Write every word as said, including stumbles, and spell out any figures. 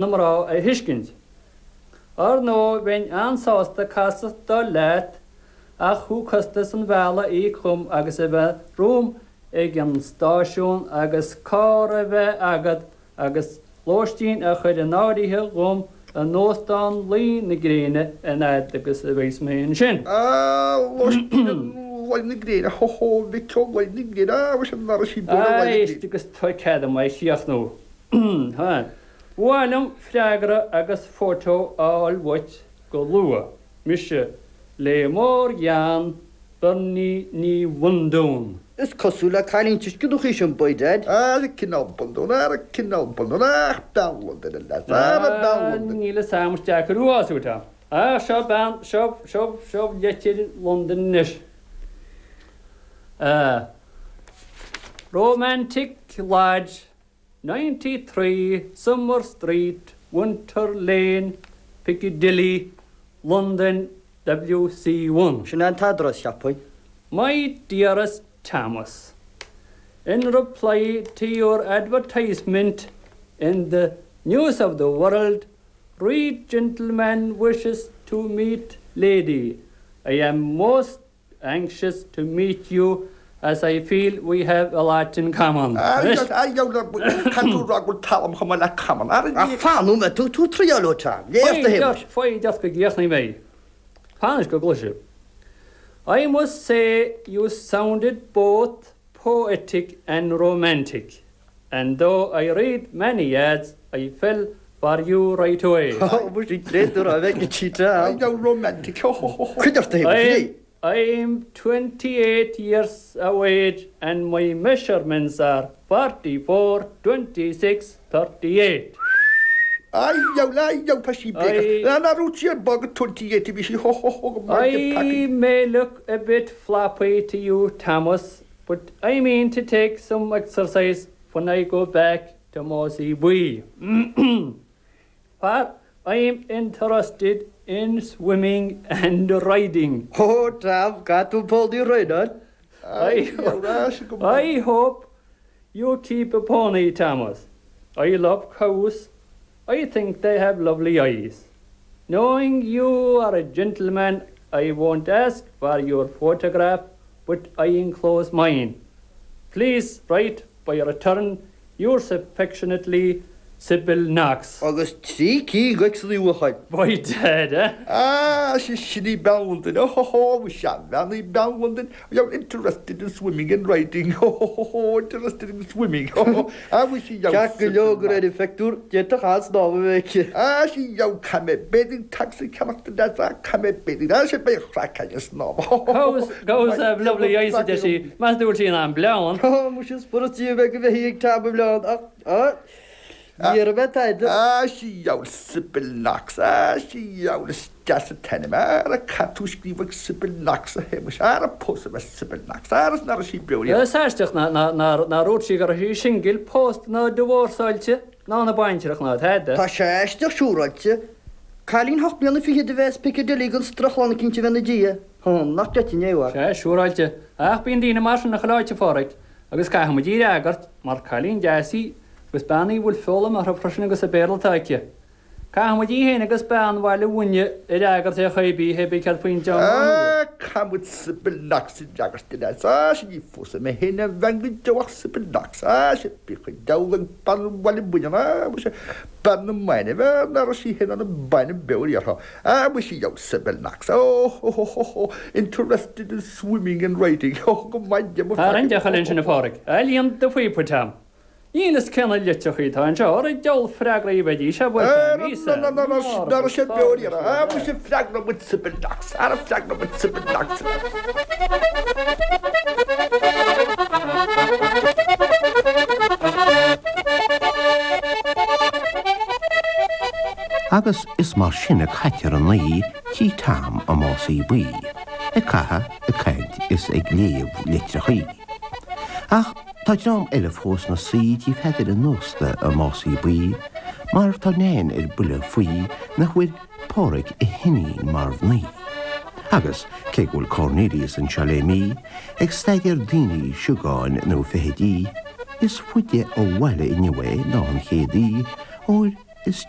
na mná a thuiscint. Ar ndóigh bheinn an-sásta casadh leat ach thú costas an bhealaigh a íoc dhom agus a bheith romham ag an stáisiún agus carr a bheith agat agus lóistín a chur in áirithe dhom in Óstán Luí na Gréine an fhad agus a bheas mé ansin. Lóistín Luí na Gréine, ho ho, mhic ó Luí na Gréine, ah, mhuise an raibh sí beo ar Luí na Gréine. Éist agus tá cead agam é a chríochnú. Ba mhaith liom freagra agus fótó a fháil uait go luath. Mise le mórghean, Bernie Ní Bhundún. Is cosúil le cailín tuisceanach í sin, by dad. Ara cineál bundún, ara cineál bundún, ach bean Londain a leas, ara bean Londain. Níl a fhios agam, is deacair thú a fhású, Tom. Ach seo bean, seo, seo, seo leitir Londain anois. Romantic Lodge, ninety three Summer Street, Winter Lane, Piccadilly, London, W C one. Sin é an t-eadras, cheapfainn. My dearest Thomas, In reply to your advertisement in the News of the World, read gentleman wishes to meet lady. I am most anxious to meet you as I feel we have a lot in common. Caithfidh tú rá go bhfuil talam chomh maith le common. Ach fan nóiméad, tú tú triáil ó Tom. Léigh do Shéamais. Foighid ort go gcríochnaí mé. Fan anois go gcloise. I must say you sounded both poetic and romantic, and though I read many ads, I fell for you right away. Muise tréad tú a bheith go cheetah. I know romantic. Ho ho ho ho. Cuid ort a Shéamais, léigh. I'm twenty-eight years of age and my measurements are forty-four, twenty-six, thirty-eight. Ai, dheabhail, ai, dheabhail, tá sí bréagach. I Ná raibh sí ar bog twenty-eight a bhí sí, ho ho ho, go maith I pacaí. may look a bit floppy to you, Thomas, but I mean to take some exercise when I go back to Mossy Buí. For I'm interested in swimming and riding. Ó, Tom, caithfidh tú pony a thraenáil. I, I hope you keep a pony, Thomas. I love cows. I think they have lovely eyes. Knowing you are a gentleman, I won't ask for your photograph, but I enclose mine. Please write by return. Yours affectionately, Sybil Knox. Agus trí cinn d'X ina uachar. By dad, eh? Ah, sé sin í bean Londain, oh ho ho, sea, bean í bean Londain, you're interested in swimming and riding, oh ho ho ho, interested in swimming, oh ho, ah, bhí sí Ceart go leor go raibh an phictiúr, d'fhéadfadh an-snámh a bheith aici. Ah, sí, yo, caithfidh mé bathing tags a cheannach do leads, ah, caithfidh mé bathing, ah, sé beidh craic againn snámh, oh ho ho ho. Cows, cows have lovely eyes, a deir sí, meas tú an bhfuil sí in ann bleán? Oh, muise is furast di a bheith go mbeidh ag Tom i mbleán, ach, ah, ní raibh mé tada. Ah, sí, yo, Sybil Knox, ah, sí, yo, is deas an t-ainm, ara caithfidh tú scríobh ag Sybil Knox a Shéamais, ara pósfaidh mé Sybil Knox, ara is nár raibh sí beo riamh. Is aisteach nár dhúirt sí go raibh sí singil, pósta ná divorceáilte, ná ina baintreach ná tada. Tá sé aisteach siúráilte. Cailín hocht mbliana fichead a bheith as Piccadilly gan strochlann eicínt a bheith ina diaidh. Hum, nach gcreidfinn é, a mhac. Sea, siúráilte. Ach bíonn daoine mar sin chuile áit, a Phádraic, agus caithfidh muid í a fhreagairt, mar cailín deas í, agus bean í a bhfuil foghlaim uirthi freisin agus an Béarla atá aici. Caithfidh muid í féin agus bean Bhaile Bhuinne a fhreagairt ar chaoi ar bith, hé bith céard faoin dteanga Ah, caithfidh muid Sybil Knox a fhreagairt a leaids. Ah, sea, ní phósfaidh mé féin aon bhean go deo ach Sybil Knox. Ah, sea, bíodh an diabhal ag bean Bhaile Bhuinne, ah, muise, bean na mbainbh, ah, ná raibh sí féin ina bainbh beo riamh. Ah, muise, yo, Sybil Knox, oh, ho, ho, ho, ho, interested in swimming and riding, oh, go maith di mo Tá roinnt deoch eile ansin, a Phádraic. A líon do phíopa, Tom. Níl fhios cé na litreacha atá anseo, ar an diabhal freagraí a bheidís, a bhuel, míosa, Ná raibh sé beo riamh. Ah, muise, freagróidh muid Sybil Knox, ara freagróidh muid Sybil Knox. Agus is mar sin a caitear an oíche tí Tom i Másaí Buí, ag caitheamh, ag caint is ag léamh litreachaí. Ach tá dream eile fós 'na suí tí Pheadair an ósta i Másaí Buí, mar tá Nain ar buile faoi nach bhfuair Páraic a hiníon mar mhnaoi. Agus cé go bhfuil Cornelius anseo le mí, ag staidéar daoine, siogáin nó feithidí, is faide ó bhaile inniu é ná an chéad oíche, óir is